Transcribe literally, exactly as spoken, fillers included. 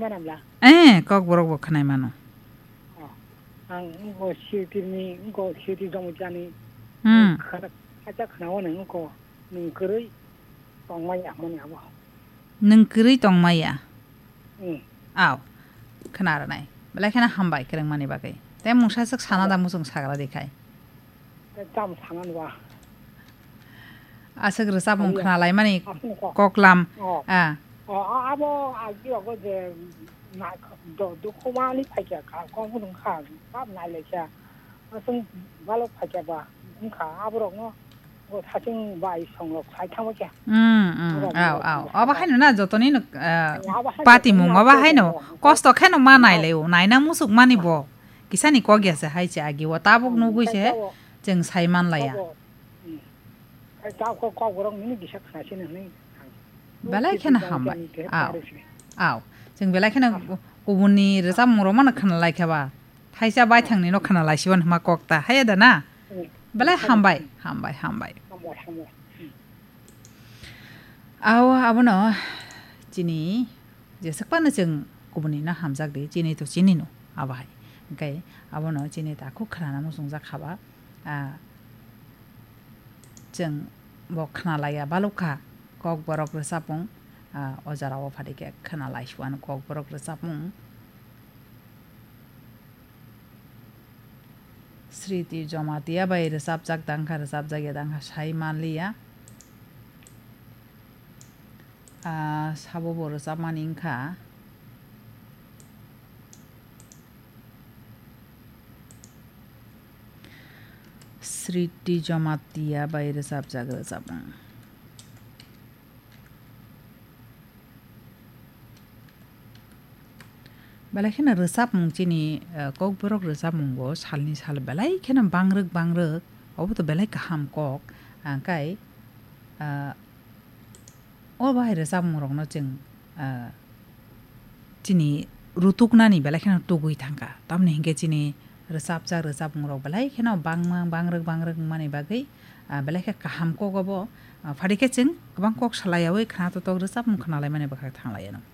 Manamla. Eh, Kokborok bo khwnai mano. Oh. Ang wngkha Sirtirni, wngkha Sirtir Jamatia ni. Hmm. Khana, kaisa khana o nang wngkha nwng kwrwi tongmaya hwnmani abo. Nwng kwrwi tongmaya? Hmm. Aw, khna rwnai. Belai kheno hambai kwrwngmani bagwi. Tei mungsa swk sana da muchung sagra di khai. Tei cham sana nwa. Aswk rwchapmung khna laimani koklam. Oh. Ah. Oh, a-, abo agi rogo je na, do, dukhumani phaikha kha, kok budung kha, bab nai lai kha. Aswk balok phaikha ba, wngkha aborokno bo sachwng bai songrok sai thangma kha. Hmm, hmm, aw, aw. Obo haino na jotoni no, ah, patimung, obo haino kosto kheno ma nai lai o, naina musuk mani bo. Kisani kok ya se hai se agi o tabuk nugui se chwng sai man laya. Belai kheno hambai. Aw. Aw. Chwng belai kheno kubunni rwchapmung rok mano khna lai kha ba. Thaisa baithangni no khna lai siban hwnma kok ta. Haiya da na? Belai hambai, hambai, hambai. Aw, abono chini jeswk phano chwng kubunni no hamjak di, chini to chini no abo hai. Hwnkhe abono chini takhuk khna na muchungjak kha ba. Ah, chwng bo khna laiya balukha, Kokborok rwchapmung, ah, o jora o phaikhe khna lai suano Kokborok rwchapmung. Sriti Jamatia bai rwchapjak tangkha, rwchapjak ya tangkha sai manliya. Ah, sabo bo rwchapmani wngkha. Sriti Jamatia bai rwchapjak rwchapmung. Belai kheno rwchapmung chini, eh, Kokborok rwchapmungo salni sal belai kheno bangrwk bangrwk, obo to belai kaham kok, ah, kai, ah, O bahai rwchapmungrokno chwng, ah, chini rutuknani belai kheno tugui thangkha. Tamoni hinkhe chini rwchapjak rwchapmungrok belai kheno bangma, bangrwk, bangrwk wngmani bagwi, ah, belai khe kaham kok obo. Ah, phari khe chwng kwbang kok salayaui khna totok rwchapmung khna laimani bwkhak thang laiyano.